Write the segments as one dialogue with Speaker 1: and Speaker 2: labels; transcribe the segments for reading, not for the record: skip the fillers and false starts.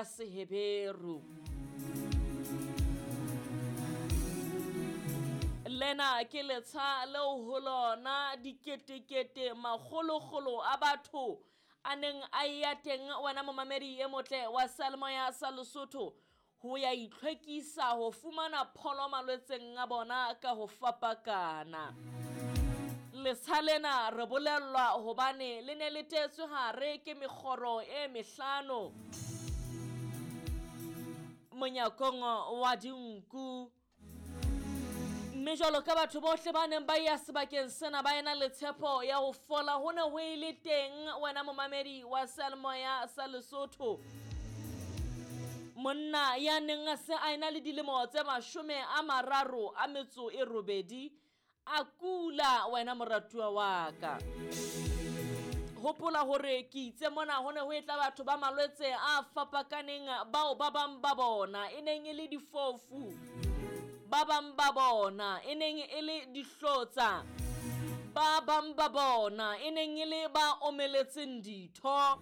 Speaker 1: ya Seheberu. Lena ke letsha leo ho lona diketekete makgolokgolo a batho a neng a eya teng wena momamedi e motle wa seyalemoya sa Lesotho ho ya itlhwekisa ho fumana pholo malwetseng a bona ka ho fapakana. Letsha lena re bolellwa hobane le ne le teetswe hare ke mekgoro e mehlano monyakong wa dinku. Mme jwalo ka batho bohle ba neng ba ya sebakeng sena ba ena le tshepo ya ho fola, ho ne ho e le teng wena momamedi wa seyalemoya sa Lesotho. Monna ya neng a se a ena le dilemo tse 38 a kula wena moratuwa wa ka. Hopola hore ke itse mona ho ne ho etla batho ba malwetse a fapakaneng bao ba bang ba bona e neng e le difofu, ba bang ba bona e neng e le dihlotsa, ba bang ba bona e neng e le ba omeletseng ditho.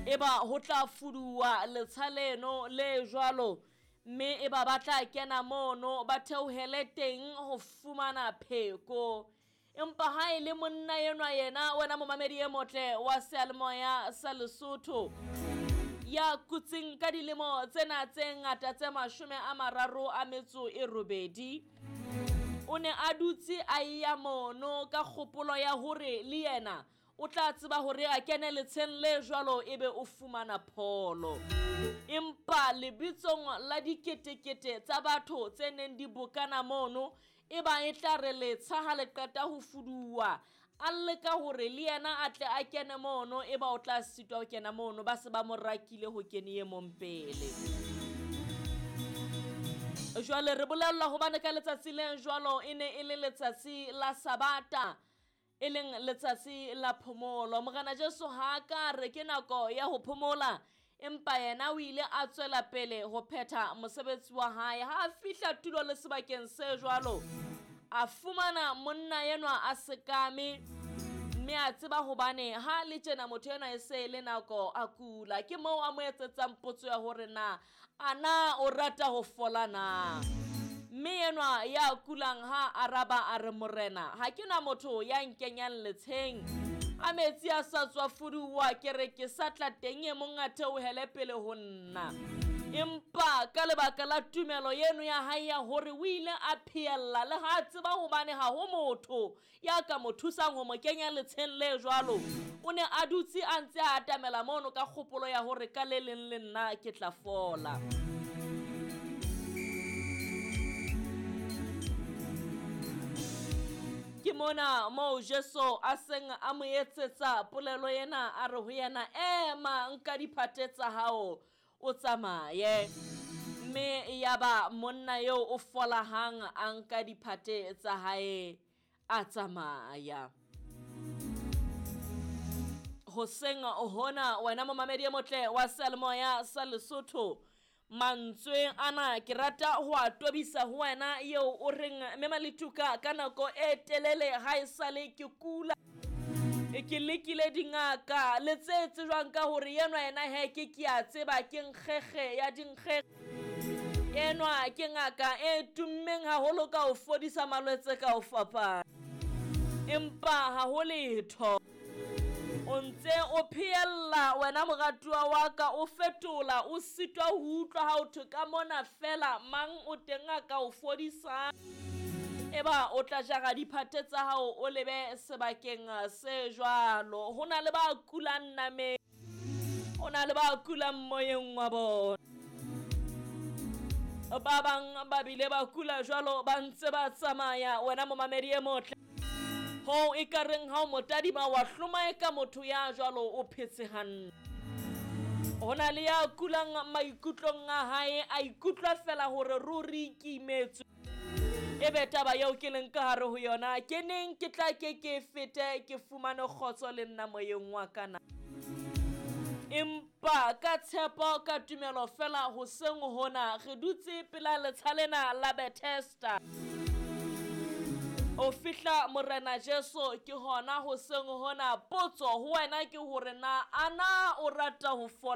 Speaker 1: Eba ho tla fuduwa letsha leno le jwalo, mme eba ba tla kena mono ba theohele teng ho fumana pheko. Empa ha e le monna enwa yena wena momamedi e motle wa seyalemoya sa Lesotho ya kutseng ka dilemo tsena tse ngata tse 38, o ne a dutse a ya mono ka kgopolo ya hore le yena o tla tseba hore a kene letsheng le jwalo ebe o fumana pholo. Empa lebitsong la diketekete tsa batho tse neng di bokana mono, eba e tla re letsha ha le qeta ho fuduwa, a leka hore le yena a tle a kene mono, eba o tla sitwa ho kena mono, ba se ba mo rakile ho kene e mong pele. Jwale re bolellwa hobane ka letsatsi le jwalo e ne e le letsatsi la Sabata, e leng letsatsi la phomolo. Morena Jesu ha ka re ke nako ya ho phomola, empa yena o ile a tswela pele ho phetha mosebetsi wa hae. Ha a fihla tulo le sebakeng se jwalo, a fumana monna enwa a sekame, mme a tseba hobane ha le tjena motho enwa e se le nako a kula. Ke moo a mo etsetsang potso ya hore na ana o rata ho fola na. Mme enwa ya kulang ha araba a re, Morena, ha ke na motho ya nkenyang letsheng, a metsi a sa tswa fuduwa, ke re ke sa tla teng e mong a theohele pele ho nna. Empa ka lebaka la tumelo eno ya hae ya hore o ile a phehella le ha tseba hobane ha ho motho ya ka mo thusang ho mo kenya letsheng le jwalo, o ne a dutse a ntse a atamela mono ka kgopolo ya hore ka le leng le nna ke tla fola. Ke mona moo Jesu a seng a mo etsetsa polelo ena, a re ho yena, ema nka diphate tsa hao o tsamaye. Mme yaba monna eo o fola hang, a nka diphate tsa hae a tsamaya. Hoseng hona wena momamedi e motle wa seyalemoya sa Lesotho, mantswe ana ke rata ho a tobisa ho wena eo o reng mme Maletuka ka nako e telele ha e sale ke kula, ke lekile dingaka le tse tsejwang ka hore enwa yena he ke a tseba ke nkgekge ya dinkgekge, enwa ke ngaka e tummeng haholo ka ho fodisa malwetse ka ho fapana, empa ha ho letho. O ntse o phehella wena moratuwa wa ka, o fetola, o sitwa ho utlwa ha o thwe ka mona fela mang o teng a ka o fodisang. Eba o tla jara diphate tsa hao o lebe sebakeng se jwalo. Ho na le ba kulang nameng, ho na le ba kulang moyeng wa bona. Ba bang ba bile ba kula jwalo ba ntse ba tsamaya wena momamedi e motle. Ho e ka reng ha o motadima wa hloma e ka motho ya jwalo o phetse hantle. Ho na le ya kulang maikutlong a hae, a ikutlwa fela hore ruri ke imetswe. Ebe taba eo ke leng ka hare ho yona, ke neng ke tla ke fete ke fumane kgotso le nna moyeng wa ka na. Empa ka tshepo ka tumelo fela hoseng hona re dutse pela letsha lena la Bethesda. O fihla Morena Jesu ke hona hoseng hona, potso ho wena ke hore na ana o rata ho fola.